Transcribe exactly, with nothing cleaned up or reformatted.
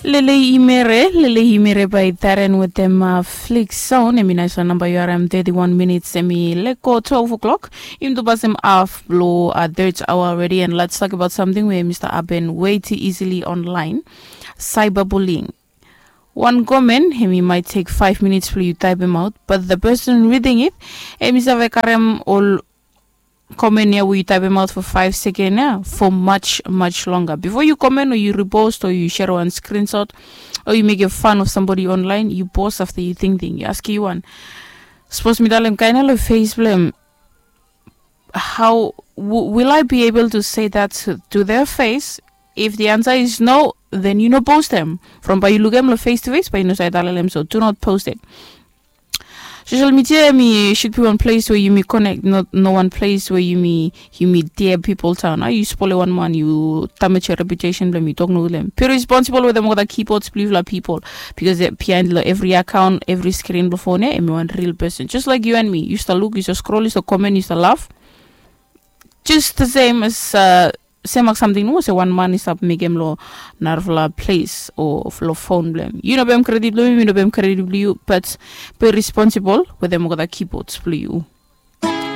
Lele imere lele imere bai taren wetem flik son em i naiswan namba yu harim thirty-one minits em i leko twelve o'clock. Im tu pasim af blo third hour already and let's talk about something where mr aben way too easily online. Cyberbullying. Wan komen em i might take five minutes blo yu taipim out but the person reading it em i save karem ol komen ya we yu taipim out for five second ya for much much longer before yu komen o yu repost o yu share wan screenshot o yu mekim fan of somebody online yu post after yu thinking yu askim yu wan. Suppose mi talem kaina lo face blem. How will I be able to say that to their face? If the answer is no, then you no post them from by you look them face to face by you no say talem so do not post it. Social media mi should be one place where you may connect, not no one place where you may you may dare people town. I use pole one man you damage your reputation blame you talk no them. Be responsible with them with the keyboards blue la people because they're behind la every account, every screen before ne, and one real person just like you and me. You used to look, you used to scroll, you used to comment, you used to laugh. Just the same as uh, same ak something no se one man is up mekem lo narfala place o lo phone blem. You no bem credit blem, you no bem credit blem, but be responsible with them with the keyboards blem.